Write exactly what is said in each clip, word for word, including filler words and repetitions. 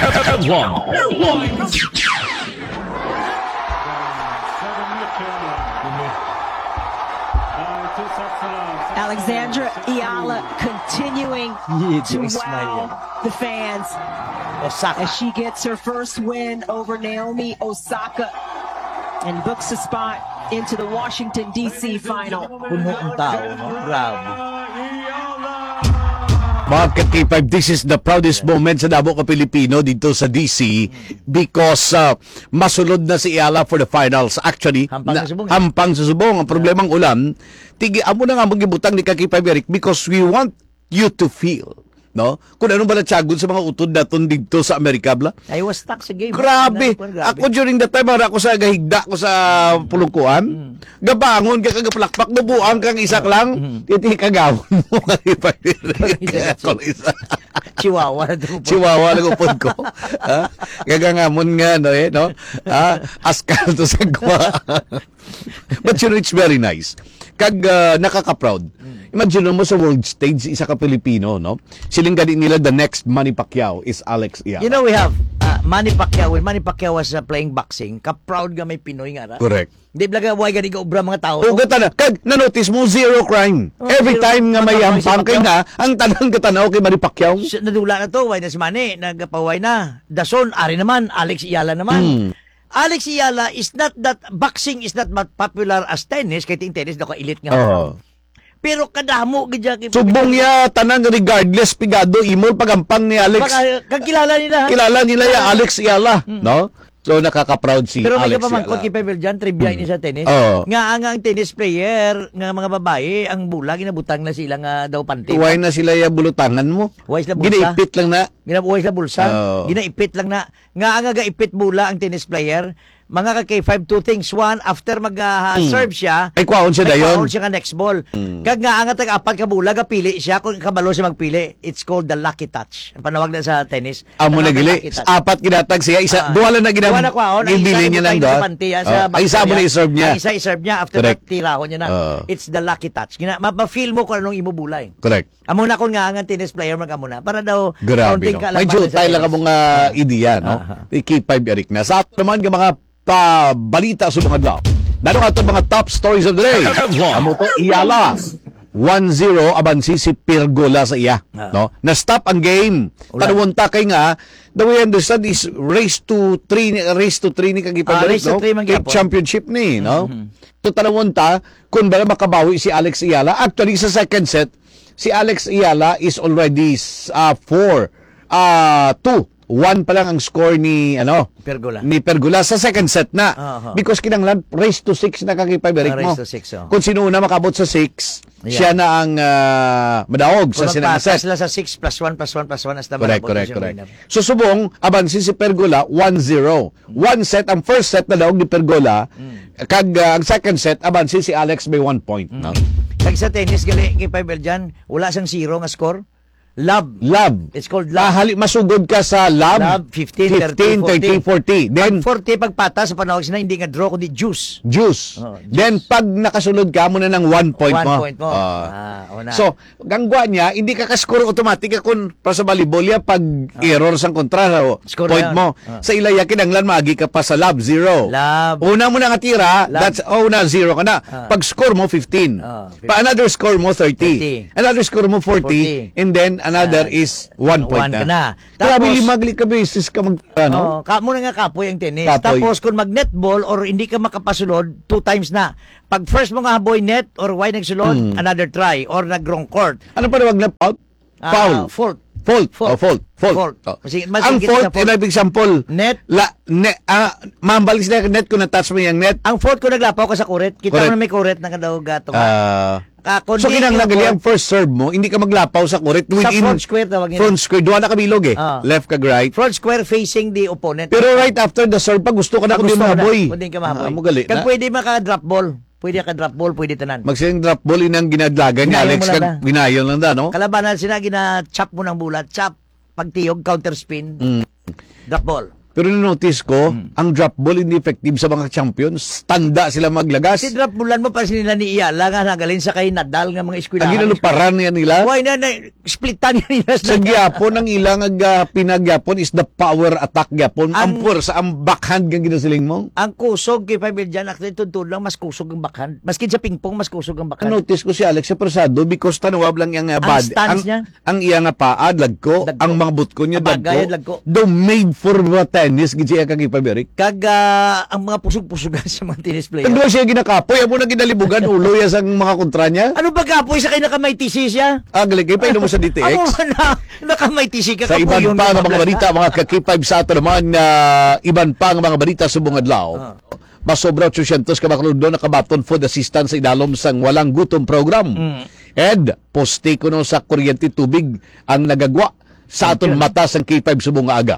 Headlines. Alexandra Eala continuing Yeah, to yung smile. Wow the fans Osaka. As she gets her first win over Naomi Osaka and books a spot into the Washington D C final. Puno ang tao, no? Grabe. Mga ka-K five, this is the proudest moment sa damo ka Pilipino dito sa D C because uh, masulod na si Eala for the finals. Actually, Hampang na- sa subong. Hampang sa subong. Ang problema ang ulan, tigi amo na nga magibutang ni ka-K five, Eric, because we want you to feel, no? Kung ano ba natsagon sa mga utod naton dito sa Amerika, bla? I was stuck sa game. Grabe. Ano, grabe. Ako during that time, ara ko sa gahigda ko sa pulungkuan. Mm. Gabangon ka, kagapalakpak, nabuang kang isa lang. Iti kagawon mo ka, K five. Kaya ako isa. Chihuahua na to. Chihuahua lang upod ko. Ha? Gagangamon nga, no, eh, no? Ha? Askal to sa gwa. But you know, it's very nice. Kag ah, nakaka-proud. Imagine mo sa world stage, isa ka Pilipino, no? Siling gani nila, the next Manny Pacquiao is Alex Eala. You know, we have uh, Manny Pacquiao. When Manny Pacquiao was uh, playing boxing, ka-proud nga may Pinoy nga ra. Correct. Di ba nga, why gani ka obra mga tao? O gata na, kag na-notice mo, zero crime. Oh, Every zero time nga crime. may Matapang si hampang kay Pacquiao. Na, ang tanan gata na okay, Manny Pacquiao. S- Nadula na to, why na si Manny? Nagpaway na. Dason, ari naman, Alex Eala naman. Hmm. Alex Eala is not that, boxing is not that popular as tennis, kay ting tennis daw ka elite nga. Oo. Pero kadamo gid siya kay Subong ya, tanan regardless, pigado, imol, pagampang ni Alex. Baka, kagkilala nila, ha? Kilala nila ya Alex Eala, Hmm. no? So, nakaka-proud si Pero may Alex kapamangkot Eala. kay Pavel dyan, trivia Hmm. ini sa tennis. Oo. Nga ang, ang tennis player, nga mga babae, ang bola, ginabutang na sila nga daw panty. Why na sila ya bulutangan mo? Why sila bulsa? Ginaipit lang na. Ginabuhay sa bulsa. Oo. Ginaipit lang na. Nga ang gaipit bola ang tennis player, mga ka K five, two things. One, after Hmm. mag-serve siya, Ay, kwaon siya may dayon. kwaon siya nga next ball. Hmm. Kag nga ang tag-apat ka bola, gapili siya kung kabalo siya magpili. It's called the lucky touch. Ang panawag na sa tennis. Amo na Ang gili. lucky touch. Apat ginatag siya, isa, Ah. duha lang na ginam-, Duha na kwaon, ang isa gibili na niya lang butang doon. sa panty, ah, sa Oh, back isa mo na niya. i-serve niya. Ang isa i-serve niya, after Correct. that, tirahon niya na. Oo. It's the lucky touch. Gina, mapa-feel mo kung anong imo bulay. Correct. Amo na kung nga ang tennis player mag-amo na. Para daw, Grabe, counting no? ka lang May pala sa jutay lang tennis. ang mga ideya, no? Aha. Kay K five Eric na. Sa ato naman nga mga pabalita sa mga adlaw. Nano ato mga top stories of the day? Amo to, Eala. One zero, abansi si Pergola sa iya. Ah. No? Na-stop ang game. Ulan. Tanawon ta kay nga, the way I understand is race to three, ni- race to three ni kag Ah, race to no? three man Kay gyapon. Championship ni, no? Mhm. So, tanawon ta kung bala makabawi si Alex Eala. Actually, sa second set, si Alex Eala is already uh, four, uh, two. One pa lang ang score ni, ano, Pergola. ni Pergola sa second set na. Aha. Because kinahanglan race to six na kag K five Eric Ah, mo. race to six, oh. Kung sino una makabot sa six, Yeah. siya na ang ah, madaog sa Kung sinang magpata set. sila sa six plus one plus one plus one, hasta Correct, malabot correct, siya correct. winner. So subong, abansi si Pergola, one zero. One set, ang first set na daog ni Pergola. Mm. Kag ah, ang second set, abansi si Alex may one point. No? Kag sa tennis, gali, kay Pavel dyan, wala siyang zero nga score. Love. Love. It's called love. Mahali, masugod ka sa love. Love, fifteen, fifteen, thirty, thirty, forty. Then, Pag forty pagpata sa panawag sila, hindi nga draw, kundi juice. juice. Oh, juice. Then, pag nakasulod ka, amo na ng one point One mo. point mo. Ah. Ah, una. So, gangwa niya, hindi ka ka-score automatic ka kung para sa volleyball ya pag error sang kontra, so, Score point na yun. mo. Ah. Sa ilaya, kinahanglan maagi ka pa sa love, zero. Love. Una mo na nga tira, Love. that's, oh, una, zero ka na. Ah. Pag score mo, fifteen. Ah, Pa another score mo, thirty. Thirty. Another score mo, forty. Forty. And then, another Ah, is one point one na. ka na. Grabe, Tapos, lima ka beses ka magtira, no? Oh, ka mo na nga kapoy ang tennis. Kapoy. Tapos kung mag-netball or hindi ka makapasulod, two times na. Pag first mo nga haboy net or why nagsulod, Mm. another try or nag-wrong court. Ano pa tawag na foul? Ah, Foul. Fault. Fault. Fault. Oh, fault. Fault. Fault. Oh. Sige, mas Ang higit fault, sa fault. Ina example. Net. La, ne, ah, mambalik sila net kung na-touch mo yung net. Ang fault kung naglapaw ka sa kuret, kita Correct. mo na may kuret na kadaog gato. Ah, Ah, kung so, di kinahanglan yung gali fault, ang first serve mo, hindi ka maglapaw sa kuret within front square tawag nila. front square. Duha na kabilog eh. Ah. Left kag right. Front square facing the opponent. Pero right after the serve, pag gusto ka na, Pag kung di gusto mo ka na, haboy. kung di ka mahaboy. Ah, mo gali Kag na. Pwede maka-drop ball. Pwede ka drop ball, pwede tanan. Magsing drop ball inang ginadlagan ni Ginayon Alex. mo lang Kag na. Ginayon lang da, no? Kalabanan sila, gina-chop mo ng bola. Chop. Pagtiyog, counter spin. Mm. Drop ball. Pero na-notice ko, Hmm. ang drop ball hindi effective sa mga champions. Tanda sila maglagas. Si drop ballan mo pa sila ni Iyala nga nagalin sa kay Nadal nga mga eskwelahan. Ang ginaluparan niya nila. Why na, na splitan niya nila Sa gyapon, ang ilang ag, ah, pinagyapon is the power attack gyapon. Ang Ang puwersa, ang backhand nga ginasiling mo. Ang kusog kay Pamilya, actually, tuntun lang, mas kusog ang backhand. Maskin sa pingpong, mas kusog ang backhand. Notice ko si Alex sa persado because tanawab lang iyang, ah, Ang bad-, stance ang, niya. ang iya nga paa, dagko, Dagko. ang mga butko niya, Abagay, dagko. dagko. Daw made for mga tennis, gid siya kag ipabirik. Kag, ah, ang mga pusog-pusugan sa mga tennis player. Tagdo siya ginakapoy, amo na ginalibugan, ulo ya sang mga kontra niya. Ano ba kapoy sa kay nakamaitisi siya? Ah, galing kayo, painom mo sa D T X. Amo na, nakamaitisi ka, Sa iban kapoy yun, pa nga mga mga balita, mga ka-K five sa ato naman, ah, iban pa nga mga balita subong adlaw. Ah. Masobra otsosyentos ka mga kalugdo nakabaton food assistance sa idalom sang Walang Gutom program. Mm. And poste kuno sa kuryente, tubig ang nagagwa sa Thank aton you. mata sang K five subong nga aga.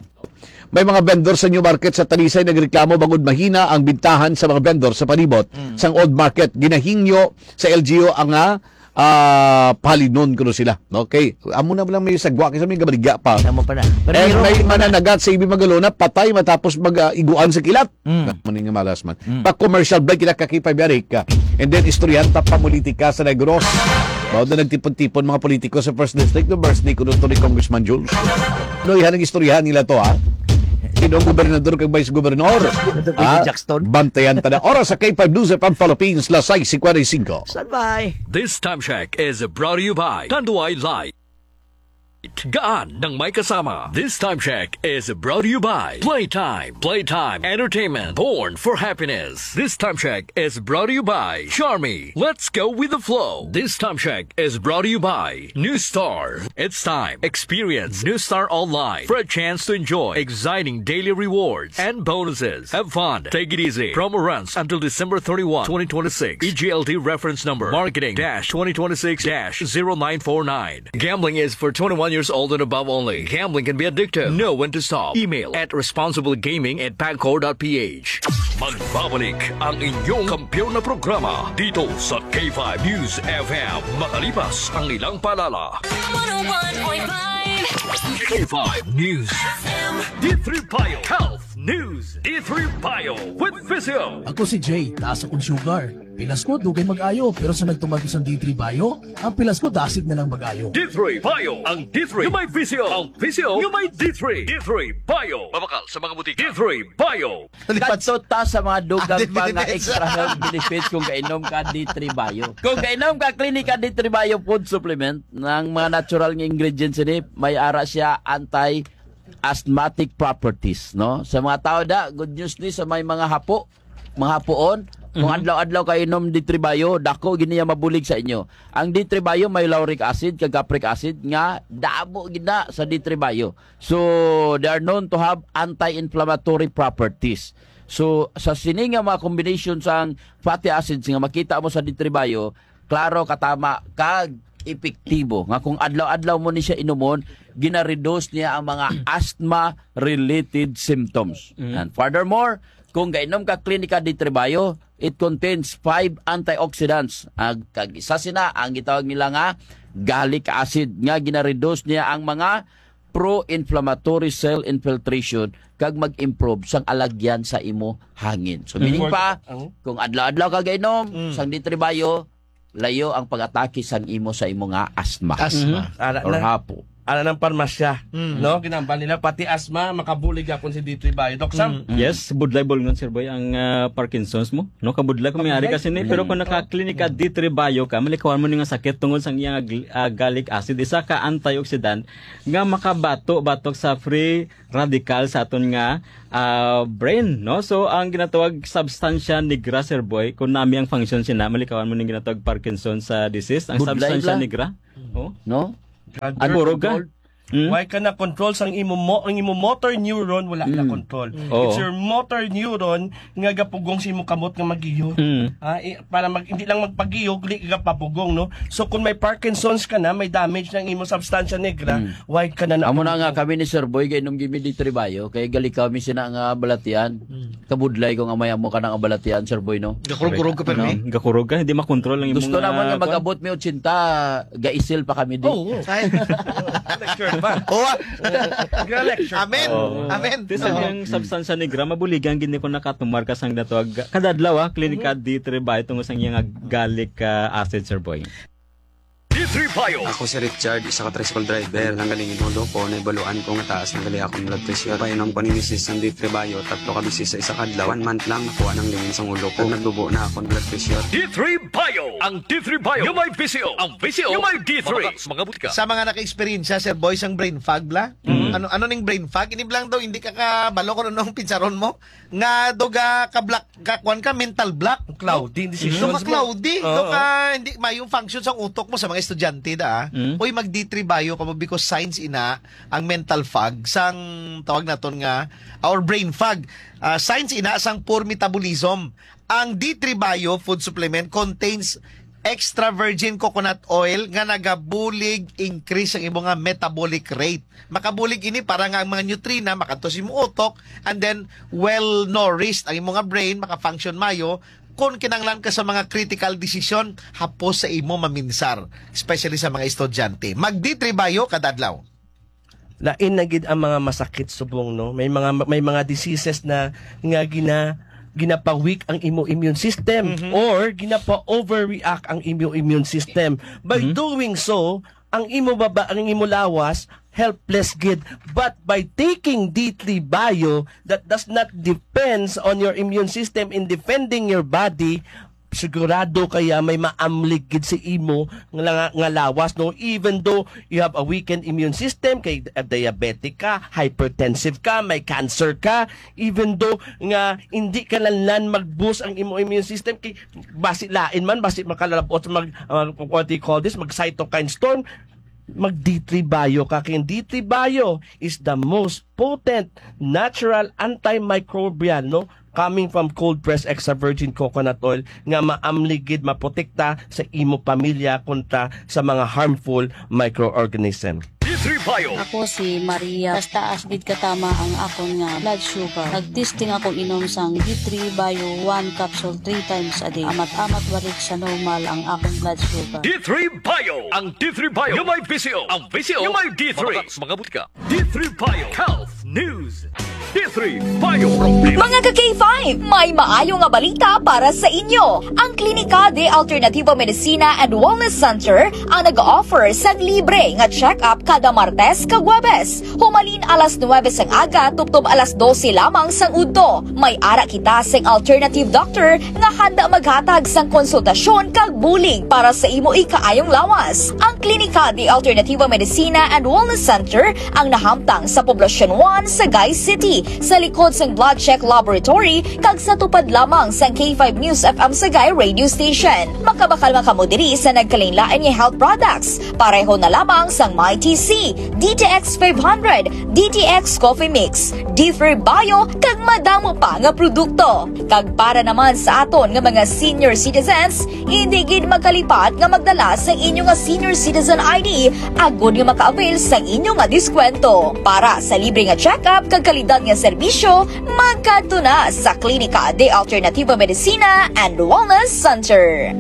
May mga vendor sa New Market sa Talisay nagreklamo bangod mahina ang bintahan sa mga vendor sa palibot Mm. sang Old Market. Ginahingyo sa L G U ang, ah, ah, palinon kuno sila. Okay? Amo na lang may sagwa kasi may gabaligya pa. Tama pa na. Pero And mayroon may pa na. mananagat sa Ibi Magalona, patay matapos mag, ah, iguan sa kilat. Mm. Mani nga malas man. Mm. Pa commercial break kita, ka K five Eric. And then istoryahan ta pa politika sa Negros. Mao na nagtipon-tipon mga politiko sa First District, no, birthday kuno to ni Congressman Jules. No, ihan ang istoryahan nila to, ha. Sino ang gobernador kag vice gobernador? Ito, Ha? Jackson. Bantayan ta na. Oras sa K five News F M Philippines, las sais cincuenta y cinco. Standby. This time check is brought to you by Tanduay Light. Gaan ng may kasama. This time check is brought to you by Playtime. Playtime Entertainment, born for happiness. This time check is brought to you by Charmy. Let's go with the flow. This time check is brought to you by New Star. It's time. Experience New Star Online for a chance to enjoy exciting daily rewards and bonuses. Have fun. Take it easy. Promo runs until December thirty-one, twenty twenty-six. E G L T reference number, marketing dash twenty twenty-six dash zero nine four nine. Gambling is for twenty-one years old and above only. Gambling can be addictive. Know when to stop. Email at responsiblegaming at pagcor dot p h. Magbabalik ang inyong kampiyon na programa dito sa K five News F M, makalipas ang ilang paalala. One oh one point five. K five News F M. D three Bio Health News. D three Bio with Physio. Ako si Jay, taas akong sugar. Pilas ko, dugay mag-ayo, pero sa nagtumag isang D three Bio, ang pilas ko dasig na lang mag-ayo. D three Bio, ang D three nga may Physio, ang Physio nga may D three. D three Bio. Mabakal sa mga butika. D three Bio. Kadto ta sa mga dugang pa nga extra health benefits kung kainom ka D three Bio. Kung kainom ka Clinica D three Bio food supplement, ng mga natural nga ingredients ini, may ara siya anti-asthmatic properties, no? Sa mga tao da, good news ni sa may mga hapo, mga hapuon, kung Mhm. adlaw-adlaw kayo inom D three Bio, dako gid niya mabulig sa inyo. Ang D three Bio may lauric acid kag capric acid nga damo gid na sa D three Bio. So, they are known to have anti-inflammatory properties. So, sa sini nga mga combination sang fatty acids nga makita mo sa D three Bio, klaro, katama, kag epektibo nga kung adlaw-adlaw mo ni siya inumon, gina-reduce niya ang mga asthma-related symptoms. Mm. And furthermore, kung gainom ka Clinica D three Bio, it contains five antioxidants. Ag, kag isa sina ang gitawag nila nga gallic acid nga gina-reduce niya ang mga pro-inflammatory cell infiltration kag mag-improve sang alagyan sa imo hangin. So, meaning Before pa, ang kung adlaw-adlaw ka gainom Mm. sang D three Bio, layo ang pag-atake sang imo sa imo nga asthma. Asthma. Mhm. Ara or na, hapo. Ara ng parmasya, Mm. no? Ginambal nila, pati asthma, makabulig akon si D three Bio. Doc Sam? Mm. Yes, budlay bolngon, Sir Boy, ang, ah, Parkinson's mo. No, kabudlay kung may ari Kabudlay. Kasi ni, pero kung Mm. naka-clinic ka, D three Bio ka, malikawan mo ni nga sakit tungod sang iyang gl-, ah, gallic acid. Isa ka antioxidant nga makabato batok sa free radical sa aton nga, ah, brain, no? So, ang ginatawag substansya negra, Sir Boy, kung nami ang function sina, malikawan mo ning ginatawag Parkinson sa disease, ang Budlay substansya bla. negra. Oh? No? God, Ang you're Burog ka. controlled. Hmm? Why ka na control sang imo mo, ang imo motor neuron wala na Hmm. control. Oo. It's your motor neuron nga gapugong sa imo kamot nga magiyo. Hmm. Ah, i-, para mag, hindi lang magpagiyo, kundi gapapugong, no? So, kung may Parkinson's ka na, may damage ng imo substansya negra, Hmm. why ka na Amo na nga napupuno? Kami ni Sir Boy, kay nung gimi di tribayo, kay gali kami sina nga balatian. Hmm. Kabudlay ko nga may amo ka na nga balatian, Sir Boy, no? Gakurog-kurog ka, permi. No? Gakurog ka, hindi makontrol ang imong, Gusto naman ah, nga kwan. Mag-abot mi ochenta, gaisil pa kami di. Oo. Ay. Sure. Ba? Oh, ah. Gra lecture. Amen. Oo. Amen. Ti sa Oo. iyang substansya ni Gra, mabuligan gid ni ko nakatumar ka sang natawag kadadlaw, ah, klinika Mm. D three Bio tungod sa iyang galic, ah, acid, Sir Boy. D three Bio. Ako si Richard, isa ka tricycle driver. Nanggaling in ulo ko, naibaluan ko nga taas na gali akong blood pressure. Painom ko ni misis sang D three Bio, tatlo ka beses sa isa ka adlaw. One month lang, nakuha ng lingin sang ulo ko. Nagdubo na akong blood pressure. D three Bio. Ang D three Bio. Yung may V C O. Ang V C O. Yung may D three. Mga, mga butika. Sa mga naka-eksperyensya, Sir Boy, sang brain fog bla? Mm. Ano, ano ning brain fog? Ini blang daw, hindi ka kabalo kung ano ang pinsaron mo. Nga daw ga ka-block, ka, kuwan ka, mental block. Cloudy, Mm. decisions Daw ka mo. cloudy, daw Oo. ka, hindi mayong function sa utok mo sa mga estudyante, da, ah. Mm. Uy, mag D three Bio ka mo because signs ina ang mental fog, sang tawag naton nga, or brain fog. Ah, signs ina sang poor metabolism. Ang D three Bio food supplement contains extra virgin coconut oil nga nagabulig increase ang imo nga metabolic rate. Makabulig ini para nga ang mga nutrina makadto sa imo utok, and then well nourished ang imo nga brain, maka-function mayo kung kinahanglan ka sa mga critical decision hapos sa imo maminsar, especially sa mga estudyante. Mag D three Bio kada adlaw. Lain na gid ang mga masakit subong, no? May mga, may mga diseases na nga gina-, ginapa-weak ang imo immune system Mhm. or ginapa-overreact ang imo immune system. By Mhm. doing so, ang imo baba, ang imo lawas, helpless gid. But by taking D three Bio, that does not depends on your immune system in defending your body, sigurado kaya may maamlig gid sa imo nga, nga lawas, no? Even though you have a weakened immune system, kay, uh, diabetic ka, hypertensive ka, may cancer ka, even though nga hindi ka lanlan mag-boost ang imo immune system, kay basi lain man, basi makalabot mag, uh, what do you call this, mag cytokine storm, mag D three Bio ka. Kay D three Bio is the most potent natural antimicrobial, no? Coming from cold pressed extra virgin coconut oil nga maamlig gid maprotekta sa imo pamilya kontra sa mga harmful microorganism. D three Bio. Ako si Maria. Taas-taas gid katama ang akon nga blood sugar. Nag-testing ako inom sang D three Bio one capsule three times a day. Amat-amat balik sa normal ang akon blood sugar. D three Bio. Ang D three Bio. Yung may V C O. Ang V C O. Yung may D three. Mga, mga butika. D three Bio Health News. D three Bio Problema. Mga ka-K five, may maayo nga balita para sa inyo. Ang Klinika de Alternativo Medicina and Wellness Center ang nag-offer sang libre nga check-up kada Martes kag Huwebes, humalin alas nuwebe sang aga tubtob alas dose lamang sang udto. May ara kita sing alternative doctor nga handa maghatag sang konsultasyon kag bulig para sa imo ikaayong lawas. Ang Klinika de Alternativo Medicina and Wellness Center ang nahamtang sa Poblacion one, Sagay City, sa likod sang Blood Check Laboratory kag sa tupad lamang sang K five News F M Sagay Radio Station. Makabakal man kamo diri sa nagkalainlain nga health products, pareho na lamang sang My T C, D T X five hundred, D T X Coffee Mix, D three Bio, kag madamo pa nga produkto. Kag para naman sa aton nga mga senior citizens, hindi gid magkalipat nga magdala sang inyo nga senior citizen I D agod nga maka-avail sang inyo nga diskwento. Para sa libre nga check-up kag kalidad nga serbisyo, magkadto na sa Klinika de Alternativo Medicina and Wellness Center.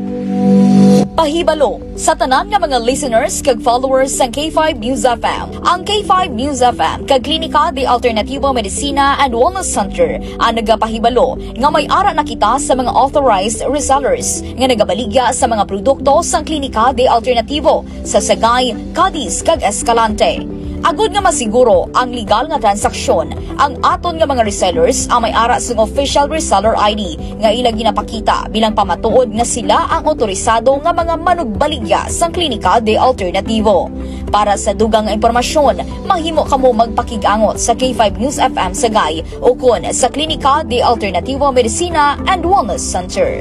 Pahibalo, sa tanan nga mga listeners kag followers sang K five News F M, ang K five News F M kag Klinika de Alternativo Medicina and Wellness Center ang nagapahibalo nga may ara na kita sa mga authorized resellers nga nagabaligya sa mga produkto sang Klinika de Alternativo sa Sagay, Cadiz, kag Escalante. Agud nga masiguro ang legal nga transaksyon, ang aton nga mga resellers ang may ara sang official reseller I D nga ila ginapakita bilang pamatuod nga sila ang otorisado nga mga manugbaligya sang Klinika de Alternativo. Para sa dugang nga impormasyon, mahimo kamo magpakig-angot sa K five News F M Sagay ukon sa Klinika de Alternativo Medicina and Wellness Center.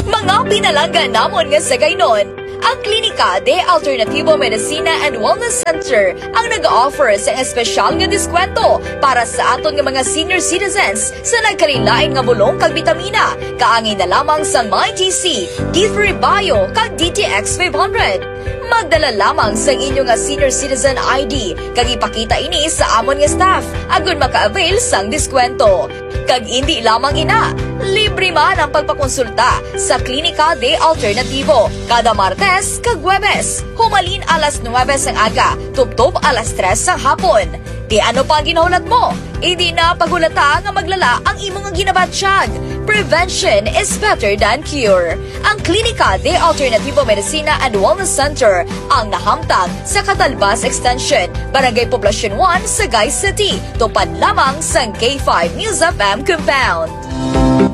Mga pinalangga namon nga Sagaynon, ang Klinika de Alternativo Medicina and Wellness Center ang nag-offer sa espesyal nga diskwento para sa aton nga mga senior citizens sa nagkalainlain nga bulong kag bitamina, kaangay na lamang sa My G C, D three Bio, kag D T X five hundred. Magdala lamang sang inyo nga senior citizen I D kag ipakita ini sa amon nga staff agud maka-avail sang diskwento. Kag indi lamang ina, libre Libre man ang pagpakonsulta sa Klinika de Alternativo kada Martes kag Huwebes, humalin alas nuwebe sang aga tubtob alas tres sang hapon. Ti ano pa ang ginahulat mo? Indi na paghulata nga maglala ang imo nga ginabatyag. Prevention is better than cure. Ang Klinika de Alternativo Medicina and Wellness Center ang nahamtang sa Catalbas Extension, Barangay Poblacion one, Sagay City, tupad lamang sang K five News F M compound.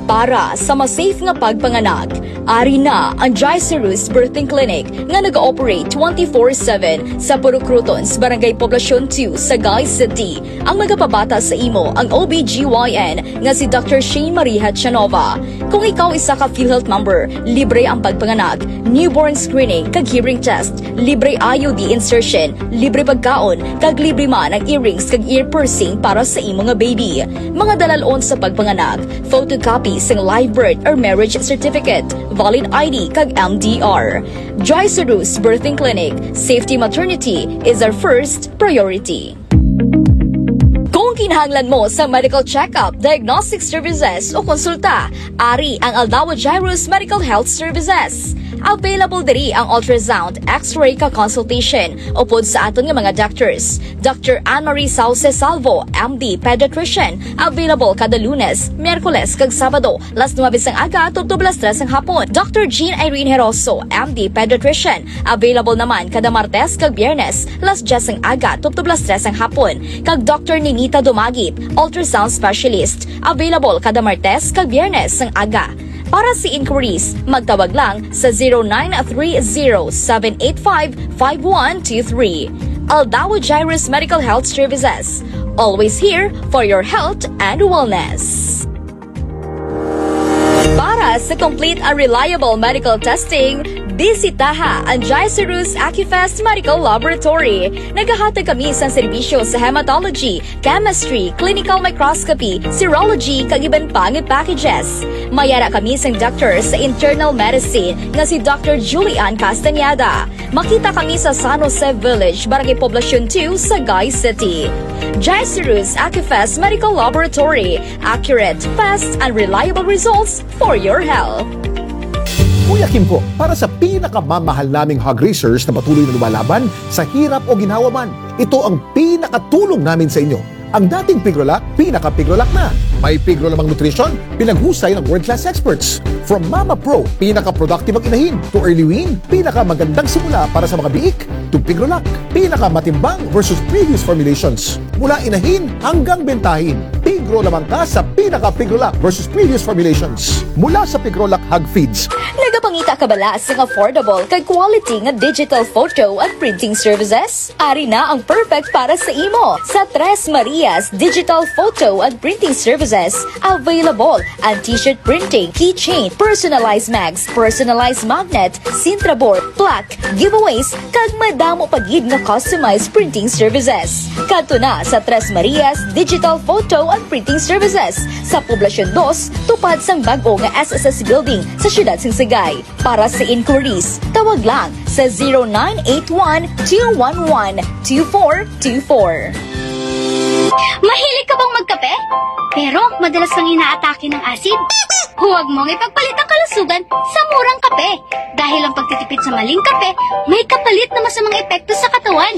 Para sa mas safe nga pagpanganak, ari na ang Gicerus Birthing Clinic nga nag-ooperate twenty-four seven sa Purok Crotons, Barangay Poblacion two, Sagay City. Ang magapabata sa imo ang O B G Y N nga si Doctor Shane Marie Hachanova. Kung ikaw isa ka PhilHealth member, libre ang pagpanganak, newborn screening, kag hearing test, libre I U D insertion, libre pagkaon, kag libre man ang earrings kag ear piercing para sa imo nga baby. Mga dalal-on sa pagpanganak, photocopy sing live birth or marriage certificate, valid I D, kag M D R. Joy Seduce Birthing Clinic, safety maternity is our first priority. Kung kinahanglan mo sa medical checkup, diagnostic services o konsulta, ari ang Aldao Jairus Medical Health Services. Available diri ang ultrasound, X-ray ka consultation upod sa aton nga mga doctors. Doctor Anne Marie Sauce Salvo, M D, pediatrician, available kada Lunes, Miyerkules kag Sabado, las nuwebe sang aga tubtob las tres sang hapon. Doctor Jean Irene Heroso, M D, pediatrician, available naman kada Martes kag Biyernes, las dyes sang aga tubtob las tres sang hapon. Kag Doctor Ninita Dumagit, ultrasound specialist, available kada Martes kag Biyernes sang aga. Para sa inquiries, magtawag lang sa zero nine three zero seven eight five five one two three. Aldao Jairus Medical Health Services, always here for your health and wellness. Para sa complete and reliable medical testing, bisitaha ang Jairus Acufest Medical Laboratory. Nagahatag kami sang serbisyo sa hematology, chemistry, clinical microscopy, serology, kag iban pa nga packages. May ara kami sang doctor sa internal medicine nga si Doctor Julian Castañeda. Makita kami sa San Jose Village, Barangay Poblacion two, Sagay City. Jairus Acufest Medical Laboratory, accurate, fast, and reliable results for your health. Kuya Kimpo, para sa pinakamamahal naming hog raisers na patuloy na lumalaban sa hirap o ginhawa man, ito ang pinakatulong namin sa inyo. Ang dating Pigrolac, pinaka-Pigrolac na. May Pigro lamang nutrition, pinaghusay ng world-class experts. From Mama Pro, pinaka-productive ang inahin, to Early Wean, pinakamagandang simula para sa mga biik, to Pigrolac, pinakamatimbang versus previous formulations. Mula inahin hanggang bentahin, Pigro lamang ka sa pinaka-Pigrolac versus previous formulations. Mula sa Pigrolac Hog Feeds. Nagapangita ka bala sang affordable kag quality nga digital photo and printing services? Ari na ang perfect para sa imo. Sa Tres Marias Digital Photo and Printing Services, available ang t-shirt printing, keychain, personalized mags, personalized magnet, Sintra board, plaque, giveaways, kag madamo pa gid nga customized printing services. Kadto na sa Tres Marias Digital Photo and Printing Services sa Poblacion dos, tupad sang bag-o nga S S S Building sa siyudad sang Sagay. Para sa inquiries, tawag lang sa zero nine eight one two one one two four two four. Mahilig ka bang magkape? Pero madalas kang inaatake ng asid? Huwag mong ipagpalit ang kalusugan sa murang kape, dahil ang pagtitipid sa maling kape may kapalit na masamang epekto sa katawan.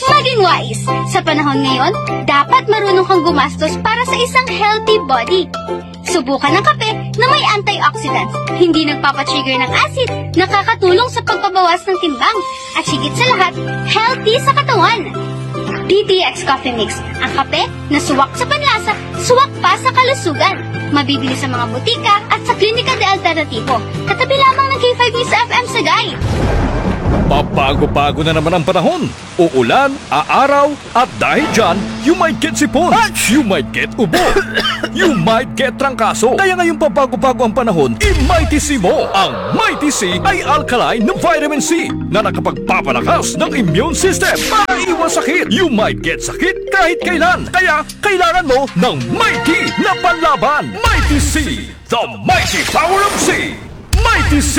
Maging wais! Sa panahon ngayon, dapat marunong kang gumastos para sa isang healthy body. Subukan ang kape na may antioxidants, hindi nagpapatrigger ng acid, nakakatulong sa pagpabawas ng timbang, at higit sa lahat, healthy sa katawan. D T X Coffee Mix, ang kape na suwak sa panlasa, suwak pa sa kalusugan. Mabibili sa mga butika at sa Klinika de Alternativo, katabi lamang ng K five News F M Sagay. Pabago-bago na naman ang panahon. Uulan, aaraw, at dahil dyan, you might get sipon, you might get ubo, you might get trangkaso. Kaya ngayong pabago-bago ang panahon, i-Mighty C mo. Ang Mighty C ay alkaline na vitamin C na nakapagpapalakas ng immune system para iwas sakit. You might get sakit kahit kailan. Kaya kailangan mo ng Mighty na panlaban. Mighty C, the mighty power of C. Mighty C.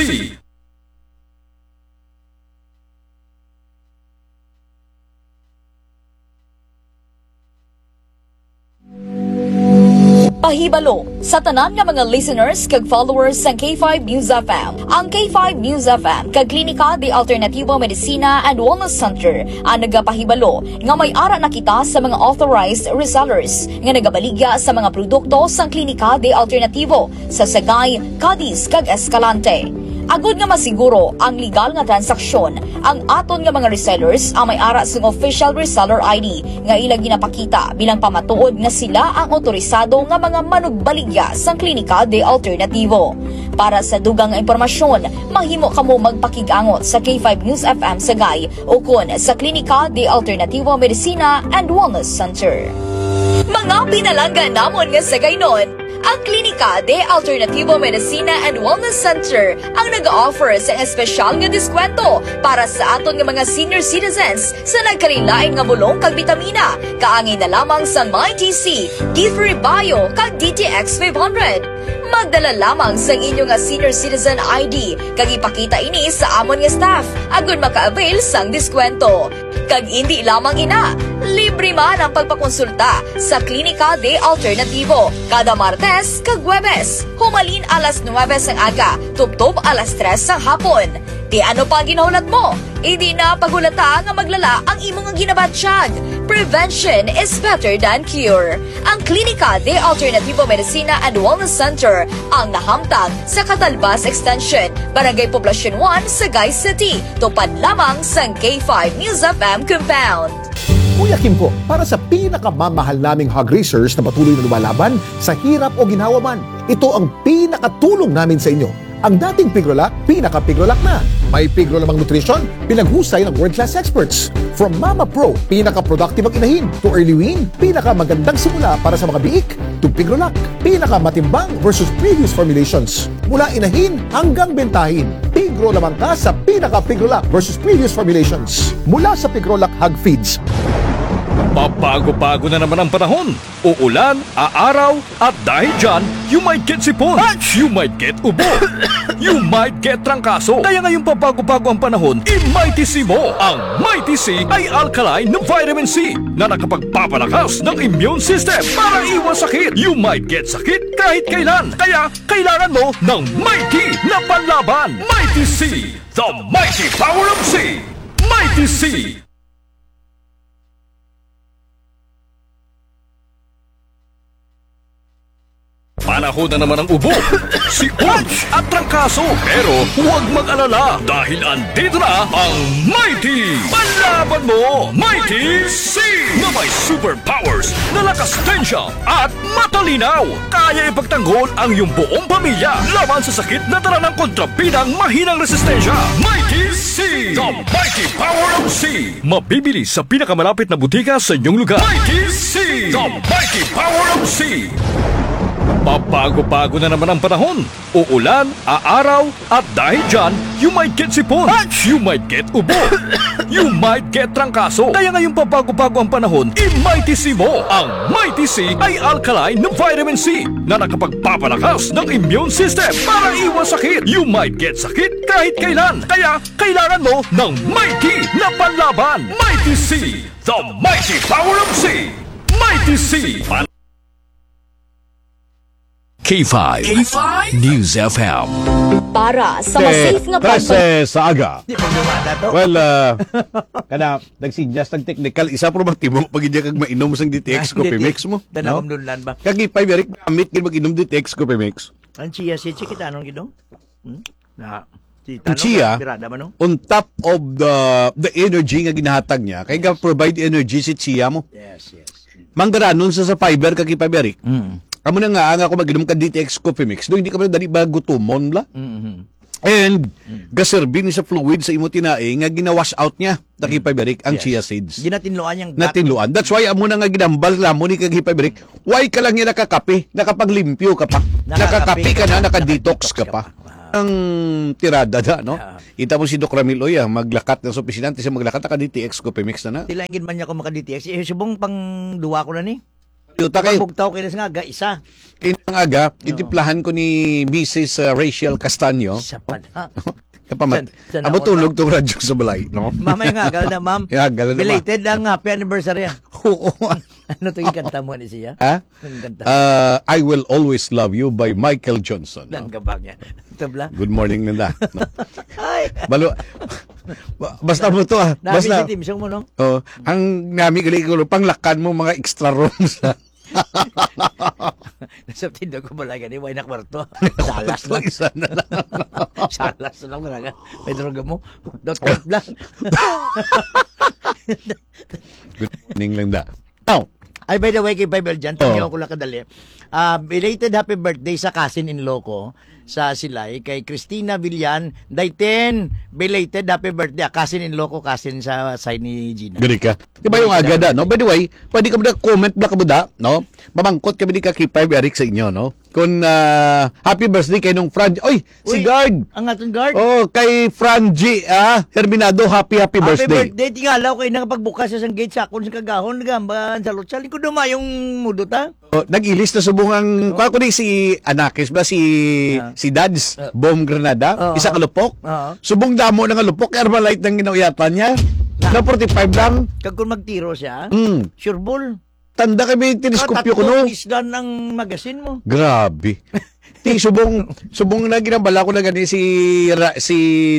Hibalo sa tanan nga mga listeners kag followers sang K five News F M. Ang K five News F M kag Klinika de Alternativo Medicina and Wellness Center ang nagapahibalo nga may ara na kita sa mga authorized resellers nga nagabaligya sa mga produkto sang Klinika de Alternativo sa Sagay, Cadiz, kag Escalante. Agud nga masiguro ang legal nga transaksyon, ang aton nga mga resellers ang may ara sing official reseller I D nga ila ginapakita bilang pamatuod nga sila ang otorisado nga mga manugbaligya sang Klinika de Alternativo. Para sa dugang nga impormasyon, mahimo kamo magpakig-angot sa K five News F M Sagay ukon sa Klinika de Alternativo Medicina and Wellness Center. Mga pinalangga namon nga Sagaynon, ang Klinika de Alternativo Medicina and Wellness Center ang nag-offer sa espesyal nga diskwento para sa aton nga mga senior citizens sa nagkalain-lain nga bulong kag bitamina, kaangay na lamang sang Mighty C, D three Bio, kag D T X five hundred. Magdala lamang sang inyo nga senior citizen I D kag ipakita ini sa amon nga staff agud maka-avail sang diskwento. Kag indi lamang ina, libre man ang pagpakonsulta sa Klinika de Alternativo kada Martes kag Huwebes, humalin alas nuwebe sang aga tubtob alas tres sang hapon. Ti ano pa ang ginahulat mo? Indi na paghulata nga maglala ang imo nga ginabatyag. Prevention is better than cure. Ang Klinika de Alternativo Medicina and Wellness Center ang nahamtang sa Catalbas Extension, Barangay Poblacion one, Sagay City, tupad lamang sang K five News F M compound. Kuya Kimco, para sa pinakamamahal naming hog raisers na patuloy na lumalaban sa hirap o ginhawa man, ito ang pinakatulong namin sa inyo. Ang dating Pigrolac, pinaka-Pigrolac na. May Pigro lamang nutrition, pinaghusay ng world-class experts. From Mama Pro, pinaka-productive ang inahin, to Early Wean, pinakamagandang simula para sa mga biik, to Pigrolac, pinakamatimbang versus previous formulations. Mula inahin hanggang bentahin, Pigro lamang ka sa pinaka-Pigrolac versus previous formulations. Mula sa Pigrolac Hog Feeds. Pabago-bago na naman ang panahon. Uulan, aaraw, at dahil dyan, you might get sipon, you might get ubo, you might get trangkaso. Kaya ngayong pabago-bago ang panahon, i-Mighty C mo. Ang Mighty C ay alkaline na vitamin C na nakapagpapalakas ng immune system para iwas sakit. You might get sakit kahit kailan. Kaya kailangan mo ng Mighty na panlaban. Mighty C, the mighty power of C. Mighty C. Panahon na naman ang ubo, sipon, at trangkaso. Pero huwag mag-alala dahil andito na ang Mighty Panlaban Mo, Mighty C, na may superpowers na lakas tensya at matalinaw. Kaya ipagtanggol ang iyong buong pamilya laban sa sakit na dala ng kontrabidang mahinang resistensya. Mighty C, the mighty power of C. Mabibili sa pinakamalapit na butika sa inyong lugar. Mighty C, the mighty power of C. Pabago-bago na naman ang panahon. Uulan, aaraw, at dahil dyan, you might get sipon, you might get ubo, you might get trangkaso. Kaya ngayong pabago-bago ang panahon, i-Mighty C mo. Ang Mighty C ay alkaline na vitamin C na nakapagpapalakas ng immune system para iwas sakit. You might get sakit kahit kailan. Kaya kailangan mo ng Mighty na panlaban. Mighty C, the mighty power of C. Mighty C. K five K five News F M. Para sa mas safe nga pag- trese sa aga. Di pa lumata to. Well, uh, kana, nagsidyas ng technical, isa pa ba timo pag hindi kag mainom sang D T X Coffee Mix mo? Tanaw no? Ang dunlan ba? Kag ipay, very gamit gid mag-inom D T X Coffee Mix. Ang chia seeds, kita anong gid, no? Hmm? Na, si Ang Tano, chia, birada man, no? On top of the the energy nga ginahatag niya, kay ga-provide energy si chia mo. Yes, yes. Manggaranon sa, sa fiber kag ipay, Eric. Mm. Amo na nga, ang ako mag-inom ka D T X Coffee Mix, do hindi ka man dali ba gutumon, bla? Mm-hmm. And gaserbi ni sa fluid sa imo tinai nga gina-wash out niya, takipay, Eric, ang chia seeds. Ginatinluan niyang gat. Natinluan. That's why amo na nga ginambal namo ni kag hipay, Eric. Why ka lang niya nakakape? Nakakape ka na, naka-detox ka pa. Ang tirada da, no? Kita mo si Doc Ramil, oy, ah, maglakat na sa opisina, antes siya maglakat, naka-D T X Coffee Mix na na. Tila gid man niya kung maka-D T X. Eh, subong pang duwa ko na ni. Yuta kay bugtaw kay nga aga isa. Kay nga aga, itiplahan ko ni Missus, uh, Rachel Castaño. Sa pa na. Kapamat. Amo tulog tong radyo sa balay, no? Mamay nga, agal na, ma'am. Agal na, ma'am. Belated ang happy anniversary, ah. Oo. Ano to yung kanta mo ni siya? Ha? Ang kanta. Ah, I Will Always Love You by Michael Johnson, no? Ang gabang yan. Ito, bla? Good morning, Linda. No? Ay! Balo, ba- basta mo to, ah. Nami Basta, si Tim Sung mo, no? Oh, ang nami gali ko, panglakan mo mga extra rooms, ah. Nasa tindog ko pala gani, way na kwarto. Salas lang. Isa na lang. Salas lang, talaga. May droga mo. Dot com lang. Good morning, Linda. Now, Ay, by the way, kay Bible dyan, Oh. Tangyaw ko lang kadali. Ah, belated happy birthday sa cousin-in-law ko sa Silay, kay Christina Villan. Dayten, belated happy birthday. Ah, cousin-in-law ko, cousin sa side ni Gina. Gani ka. Di ba yung Belated agad, happy no? By the way, pwede ka ba comment na kabuda, no? Mamangkot kami ni Kaki five Eric sa inyo, no? Kung, ah, happy birthday kay nung Fran-, oy, si Uy, Guard. Ang aton guard. Oh, kay Franji, ah, Herminado, happy, happy Happy birthday. birthday. Tingalaw kay nang pagbukas sa isang gate sa akon sa kagahon, gamba, sa lutsa. Lingkod mo yung mudot, ha? Oh, nag-ilis na subong ang, Oh. kwa ko ni si Anakis ba, si, Ah. si Dads, Ah. Bom Granada, Oo. isa ka lupok. Oo. Subong damo na nga lupok, kay Armalite nang ginauyatan niya. Na. Na forty-five lang. Kag kung magtiro siya, Mm. sure ball. Tanda kay may teleskopyo ko, no? Katatlo isdan ang magasin mo. Grabe. Ti, subong, subong na ginabala ko na gani si Ra-, si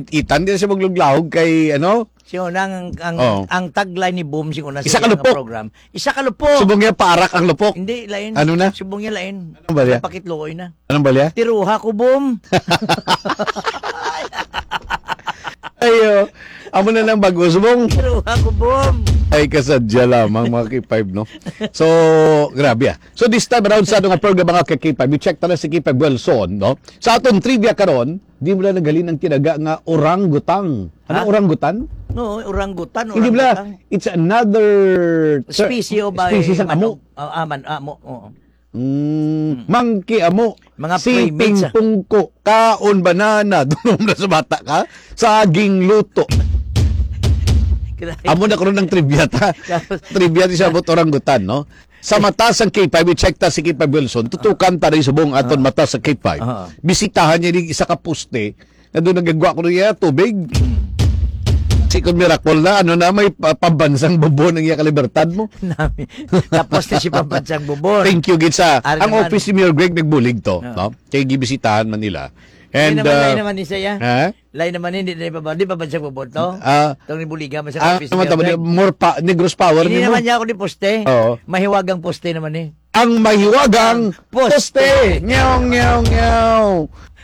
Ethan, di na siya magluglahog kay, ano? Si una, ang, ang, Oo. ang tagline ni Boom, si una sa Isa ka iyang lupok. program. Isa ka lupok. Subong niya, paarak ang lupok. Hindi, lain. Ano na? Subong niya, lain. Ano ba niya? Napakitluoy na. Anong balya? Tiruha ko, Boom. Ayo. Amo na lang bago, subong. Tiruha ko, Boom. Ay, kasadya lamang, mga K five, no? So, grabe, ah. So, this time around sa atong program, mga K five, i-check ta na si K five Wilson, no? Sa atong trivia karon, di mo na naghalin ang tinaga nga orangutang. Ano, Ha? orangutan? No, orangutang, Hindi bala, orangutang. It's another ter-, Species of species ang ano? amo. Ah, ah, man, amo, oo. Mm, Mm. monkey amo. Mga Si primates, ah. Pingpong ko, kaon banana, dunom na sa bata ka, saging luto. Grabe. Amo na karon ang trivia ta. Tapos Trivia ti sa abot orangutang, no? Sa mata sang K five, i-check ta si K five Wilson. Tutukan ta rin subong aton Ah. mata sa K five. Ah. Bisitahan niya ning isa ka poste nga doon nagagwa ko niya tubig. Si Kun Miracle na, ano na, may pa-, pambansang bubon ang iya kalibertad mo. Nami. Tapos na si pambansang bubon. Thank you, gid sa, Ari ang naman. office ni Mayor Greg nagbulig to, No. no? Kay gibisitahan man nila. Hindi And, naman, uh, lain naman ni siya. Ha? Lain naman, hindi na ipabalik, di pambansang bubon to. Ah. Itong nibuligan man sa Ah, office ni naman Mayor tama, Greg. more pa, Negros power Hindi nimo. naman niya ako ni poste. Oo. Mahiwagang poste naman eh. Ang mahiwagang Poste. poste. Nyaw, nyaw, nyaw.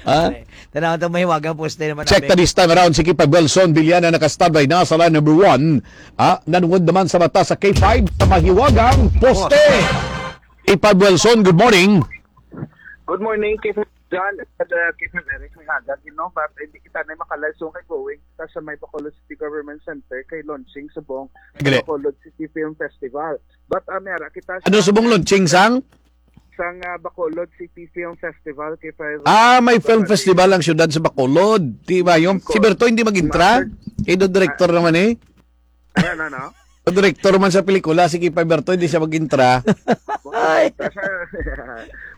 Ha? Okay. Tanaw to, mahiwagang poste naman, Check abe. the this time around. Si K five Wilson Villana naka-standby na sa line number one. Ah, nanungod naman sa mata sa K five sa mahiwagang poste. K five Wilson, good morning. Good morning, K five John, and, uh, K five Eric, may hagag, you know, but hindi kita na makalayo kay going kita sa may Bacolod City Government Center kay launching subong Gre. Bacolod City Film Festival. But, uh, may ara kita Ano sa subong launching sang? sang, ah, Bacolod City Film Festival, K five. Ah, may film Bacolod. festival ang syudad sa Bacolod. Di ba yung Of course. si Berto hindi mag-intra? Master. Kay do director naman eh. Ayan, ano? Do director man sa pelikula, si K five Berto, hindi siya mag-intra. Ay.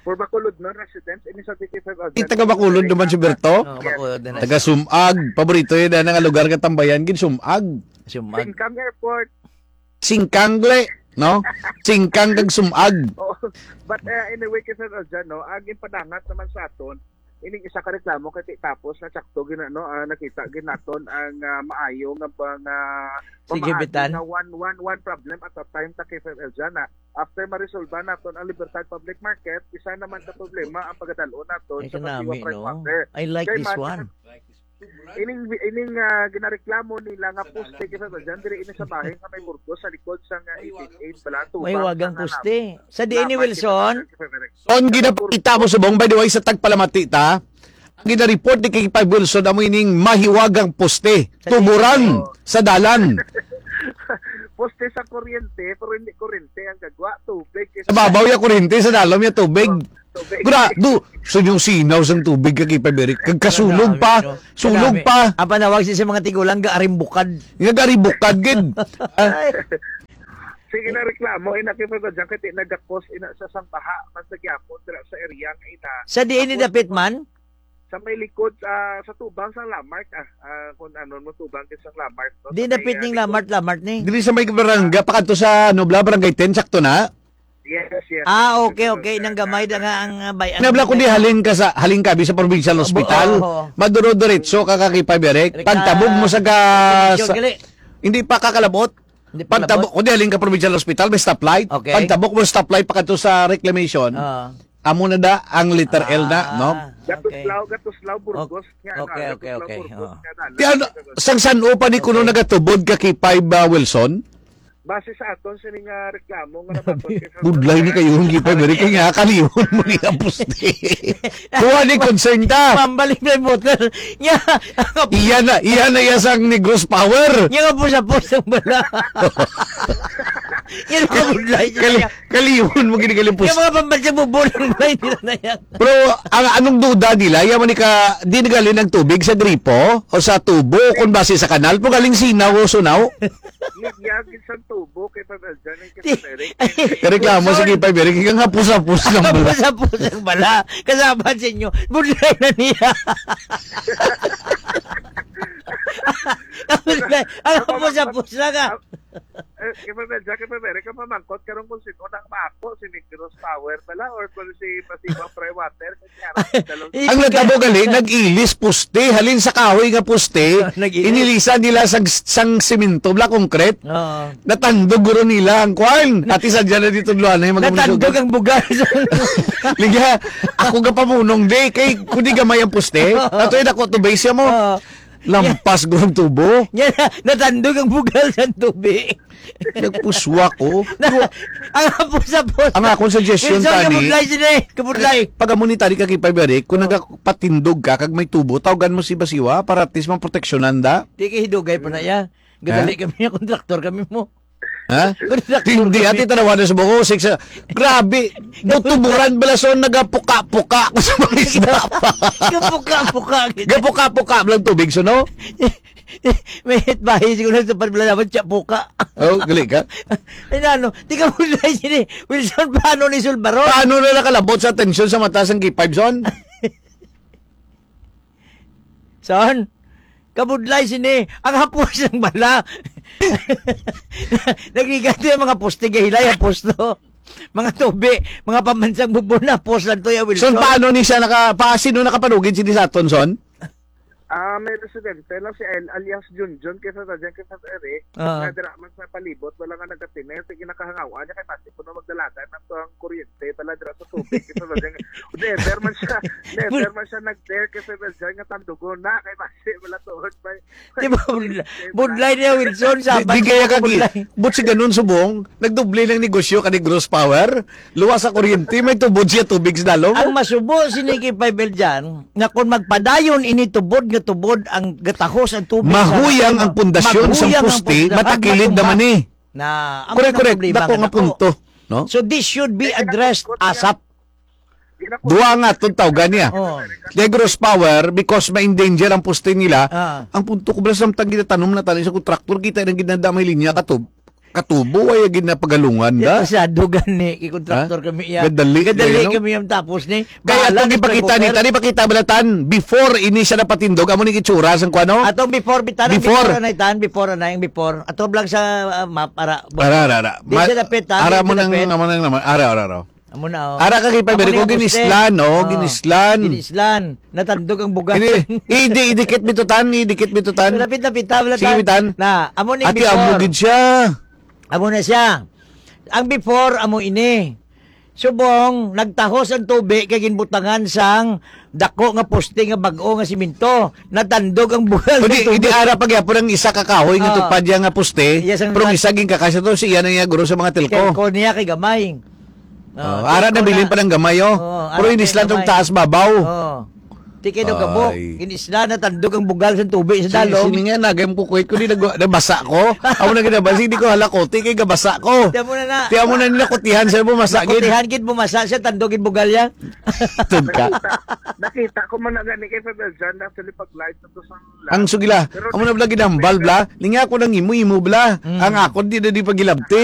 For Bacolod, no, residents, ini sa K five Agad. Di taga Bacolod naman si Berto? Oh, Yes. Bacolod na na Taga siya. Sumag, paborito yun na nga lugar nga tambayan, gid Sumag. Sumag. Singkang Airport. Singkang gle, no? Singkang kag Sumag. Oh, but, uh, anyway, kasi na dyan, no, ang impadangat naman sa aton, ining isa ka reklamo kay ti tapos na tsakto gina-, no, ah, nakita ginaton ang, ah, maayo nga ba nga Sige, pamaagi bitan. nga one, one, one problem at a time ta kay F M L dyan, ah. After maresolba naton ang Libertad Public Market, isa naman ka problema ang pagadalon naton Ay, sa kanami, Pasiwa no? Freshwater. I like Kay this man, one. ining, ining, ah, ginareklamo nila nga poste kay F M L dyan, diri ini sa bahin nga may burgos sa likod sa nga eight eight eight bala, tubang May wagang sa nga poste. Sa D N A Laban Wilson? kay F M L. On ginapakita mo subong, by the way, sa tagpalamati ta, ang gina-report ni K five Wilson amo ining mahiwagang poste, Sa tuburan, Oo. sa dalan. Poste sa kuryente, pero hindi kuryente ang gagwa, tubig. Sa babaw ya kuryente, sa dalom ya tubig. Oh, tubig. Gra-, do, so yung sinaw sang tubig ka, K five Eric. Kag kasulog Grabe, pa, no? sulog Grabe. pa. Ang panawag siya sa mga tigulang, gaarimbukad. Nga gaarimbukad, gid. Ah. Ay. Sige na reklamo, ina, kay Fred Adjang, kay ti nagakos, ina, sa sang baha, man sa gyapon, dira sa area nga ina. Sa diin ni Tapos, dapit man? Sa may likod, ah, sa tubang sa Lamarck, ah, ah, kung ano mo, tubang din sa Lamarck, no? Di Sa may, dapit ah, ning likod. Lamarck, Lamarck ni. Dili sa may barangay, Ah. pakadto sa, ano, bla, Barangay ten, sakto na? Yes, Ah, okay, President okay. Nang gamay na nga ang, ah, bay-, Nabla ko di halin ka sa, halin ka, bi sa provincial Bu-, hospital. Oo, oo. Maduro diretso ka, ka K five Eric. Pagtabog mo sa ga-, Provincial sa, gali. Hindi pa kakalabot. Hindi pa Pagtabog kalabot. ko di halin ka provincial hospital, may stoplight. Okay. Pagtabog mo stoplight pa kadto sa reclamation. Oo. Amo na da ang letter L na, no? Ah, Gatos okay. Lao, Gatos Lao, Burgos, Ok-, nga, okay, Gatos okay, Lao, okay. Burgos, Oo. nga, Ti ano, sang san-o pa ni kuno Okay. nagatubod ka K five, ah, Wilson? Base sa aton sini nga reklamo nga nabaton kay Sir Budlay ni Sir kayo, hindi pa Sir balik nga kalihon mo ni ang puste. Kuha ni concern ta. Pambalik na yung motor. Nya, Iya na, iya na iya sang Negros Power. Nya nga pusa-pusa ang bala. Nya nga budlay siya. Kali-, kalihon mo gini kalimpusta. Yung mga pambansang bubulang ba, hindi na na yan. Pero ang anong duda nila, yaman ni ka, di nagalin ang tubig sa gripo o sa tubo kung base sa kanal, po galing sinaw o sunaw? Linya gid sang tubo kay Pabeljan ang Ti- kinaserik. Reklamo, Wilson. Sige, pa, Eric, ikaw nga pusapos ng bala. Pusapos ng bala. Kasama sa inyo. Budlay na niya. Ang budlay. Ang pusapos na ka. Eh, kay Pabeljan, kay Pabeljan, ka mamangkot karong kung sino nang maako, si Negros Power bala or kung si Pasiwa Pre Water. Ang natabo gali, nag-ilis poste, halin sa kahoy nga poste, Nag-ilis. inilisan nila sang, sang simento, bla, concrete. Oo. Natandog guro nila ang kwan. Ati sa dyan na dito, Luanay, mga Natandog munisipyo. ang bugas. Liga, ako ga pamunong, di, kay kung di gamay ang poste, ato yung dako to base mo. Oo. Lampas gurong tubo. Yan, natandog ang bugal sa tubig. Nagpuswa ko. Na, ang hapos-hapos. Ang akong suggestion, Wilson, tani, kabudlay sini, kabudlay. Pag amo ni tani ka kay Paberi, kung Oh. nagapatindog ka, kag may tubo, tawagan mo si Basiwa para at least maproteksyonan da. Di kay hidugay pa na iya. Gadali Ha? kami niya, kontraktor kami mo. Ha? Kontraktor Hindi, kami. ati tanawan na sa buko, six, ah, grabe. Natuburan bala, so nagapuka-puka ko sa mga isda pa. Gapuka-puka, gid. Gapuka-puka lang tubig, so, no? May hitbahi siguro sa pagbalabot siya, puka. Oh, gali ka? Ay, na, ano? Di ka mo na sini, Wilson, paano ni Sulbaron? Paano na nakalabot sa atensyon sa mata sang K five, son? Son, kabudlay sini, ang hapos ng bala. Nagrigat yung mga poste, gahilay ang posto. Mga tubi, mga pamansang bubon na, pos lang to, ya, Wilson. Son, paano ni siya naka-, pa-, sino nakapanugid sini sa aton, son? Ah, may residente lang si El alias Junjun kay sa Tadyan kay sa Eric. Ah. Nga dira man sa palibot, wala nga nagkatiner, sige nakahangawaan niya kay basi puno magdalagan ang tuwang kuryente pala dira sa tubig kay sa Tadyan. Never man siya, never man siya nag-dare kay sa Tadyan nga tandugon na kay basi wala tuod pa. Di ba, budlay, budlay niya, Wilson, Di, sabat di kaya ko, kagi, budlay. But si ganun subong, nagdoble ng negosyo ka ni Gross Power, luwas sa kuryente, may tubod siya tubig sa dalom. Ang masubo si Nikki Five L dyan, nga kung magpadayon ini tubod nga tubod ang gatahos ang tubig sa Mahuyang ang pundasyon sa Mahuyang ang poste, punda-, matakilid magmatumba. naman eh. Na, ang Correct, mga correct. problema Dako nga nga dako. punto, no? So this should be Kaya addressed nagkakot siya. asap. Dua nga tong tawgan niya. Oh. Negros Power, because ma-endanger ang poste nila. Ah. Ang punto ko, bala, samtang ginatanom na tani sa kontraktor, kita nang ginadamay linya katub-, katubo, ay ginapagalungan Di da. Pasado gani, kay kontraktor Ha? kami iya. Gadali, Gadali no? kami yung tapos ni. Kaya Bahala atong ni ipakita ni, Trevor. tani ipakita bala tan, before ini siya napatindog, amo ni itsura sang kuano? Atong before, bitanan, Before. before, anay, tan, before, anay, ang before. Ato lang sa, ah, map, ara. Ara, ara, ara. Di Ma-, siya dapit, ha? ara Di mo siya nang, dapit. amo nang naman. Ara, ara, ara. Amo na, oh. Ara ka kay Amo Paberi na ko, yung poste. ginislan, oh, Oh, ginislan. ginislan. Natandog ang bugas. Ini, idi-, idikit bitutan, idikit bitutan. Lapit-lapit, ha, wala Sige, ta-, bitan. na, amo ni Ati, before. amo gid siya. Amo na siya. Ang before, amo ini. Subong, nagtahos ang tubi kay ginbutangan sang dako nga poste nga bag-o nga simento. Natandog ang bugal O di, sa tubi. di ara pa gyapon ang isa ka kahoy nga Ah. tupad niya nga poste, Yes, ang pero ang isa ginkakasya to, siya na niya guro sa mga telco. Telco niya kay gamay. Oh, Oh, ara telco nabilin na. pa ng gamay, oh. Oh, Pero ara hindi kay sila tong gamay. taas babaw. Oh. Di kay daw gabo. Ay. Ginisla, natandog ang bugal sa tubig sa Si, dalom. sini nga, nagay mo kukuhit ko, di nag-, nabasa ko. Amo na ginabasa, di ko halakoti, kay gabasa ko. Di amo na na. Di amo na nila kutihan, sir, bumasa, gid. Nakutihan, gid, bumasa siya, tandog, gid, bugal, ya. Tun ka. Nakita, nakita ko man na gani kay Father John, actually, pag live na to sa live. Ang sugila, Pero amo na bla ginambal, bla. Ninga ko nang imo-imo, bla. Mm. Ang ako, di na di pagilabti.